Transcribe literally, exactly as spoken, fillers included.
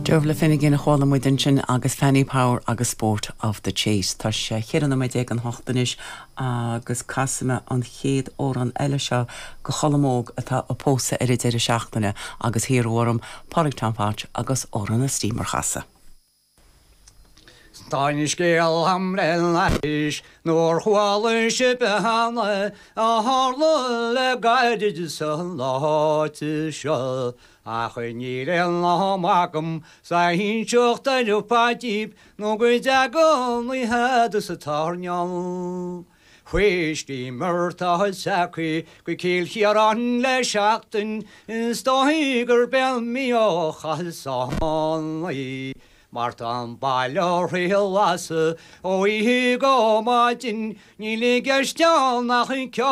Dervla Finnegan a chuala muid ansin agus Fanny Power agus Sport of the Chase. Tá sé cheithre nóiméad don hocht anois agus casfaidh mé an chéad amhrán eile seo go Cholm Óg atá ag pósadh ar an deireadh seachtaine agus hiarradh orm Pádraig Tom Phatch agus amhrán an Steamer a chasadh. Tá scéal agam le n-ais nuair chuala sibh cheana a tharla le gairid san áit seo ach níl aon am agam é inseacht ar fad daoibh nó go dtaga an oíche sa tairneán. Chuaigh steamer atá s'aici go Cill Chiaráin le seachtain is dóigh gurb é an mí ó chaith í. Mar tá an baile thrí lasadh ó oíche go maidin níl i gceist nach ceol